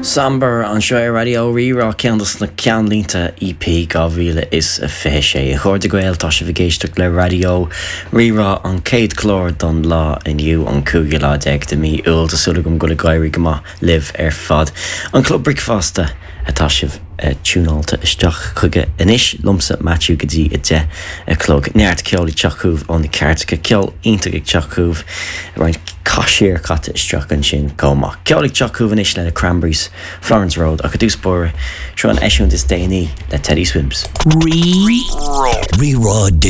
Sombre anseo ar Raidió Rí-Rá, ceann dos na ceannlínte EP 2026. A chairde Gael, tá sibh ag éisteacht le Raidió Rí-Rá, an chéad chlár don lá inniu, an cúigiú lá déag de mí Iúil. Tá súil agam go bhfuil ag éirí go maith libh ar fad. An Club Bricfeasta atá sibh tiúnáilte isteach chuige anois, liomsa Maitiú go dtí 10 a chlog. Neart ceoil ag teacht chugaibh ó na cairteacha, ceol iontach ag teacht chugaibh, roinnt casúir caite isteach ansin chomh maith. Ceol ag teacht chugaibh anois le na Cranberries, Florence Road, ach i dtús báire, seo an eisiúint is déanaí le Teddy Swims. Rí-Rá. Rí-Rá Digital.